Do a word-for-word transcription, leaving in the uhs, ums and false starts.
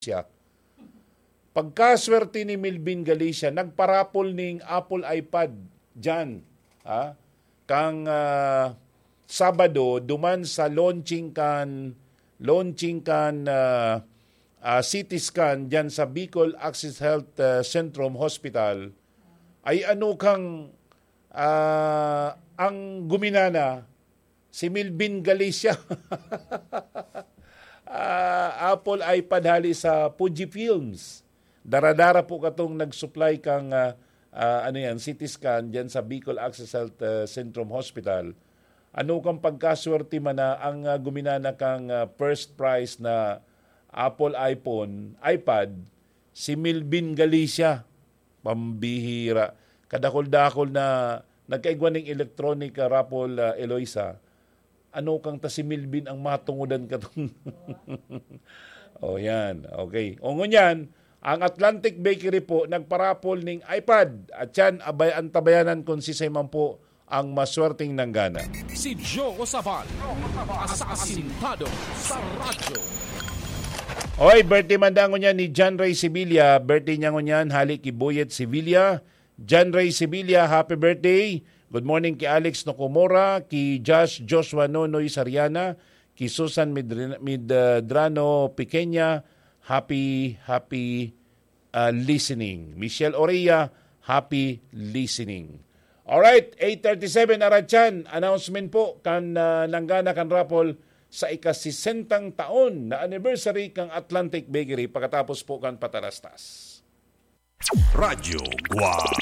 Galicia. Pagkaswerte ni Melvin Galicia, nagparapol ning Apple iPad dyan, ha? Kang, ah, Sabado, duman sa launching kan, launching kan, ah, ah, C T scan dyan sa Bicol Access Health, ah, Centrum Hospital, ay ano kang, ah, ang guminana, si Melvin Galicia. Ah, Apple iPad hali sa Fuji Films. Dara-dara po katong nag-supply kang, ah, ah, ano yan, C T scan dyan sa Bicol Access Health, ah, Centrum Hospital. Ano kang pagkaswerte man na ang, ah, guminana kang, ah, first prize na Apple iPhone, iPad, si Melvin Galicia. Pambihira. Kadakol-dakol na nagkaigwa ning electronic, ah, raffle, ah, Eloisa. Ano kang ta si Melvin ang matungodan katong? Oh, yan. Okay. O ngunyan, ang Atlantic Bakery po nagparapol ning iPad. At yan, abay, antabayanan kung sisay man po ang maswerteng nanggana. Si Joe Sabal, asasintado sa radyo. Oy, birthday man daw ngunyan ni John Ray Sevilla. Birthday niya ngunyan, hali ki Boyet Sevilla. John Ray Sevilla, happy birthday. Good morning ki Alex Nocomora, ki Josh Joshua Nonoy Sariana, ki Susan Midri-, Midrano Pequeña, happy, happy, ah, listening. Michelle Orea, happy listening. Alright, eight thirty-seven, Aratyan. Announcement po kan, ah, nanggana kan raffle sa ika-sesentang taon na anniversary kan Atlantic Bakery pagkatapos po kan patarastas. Radyo Guwang.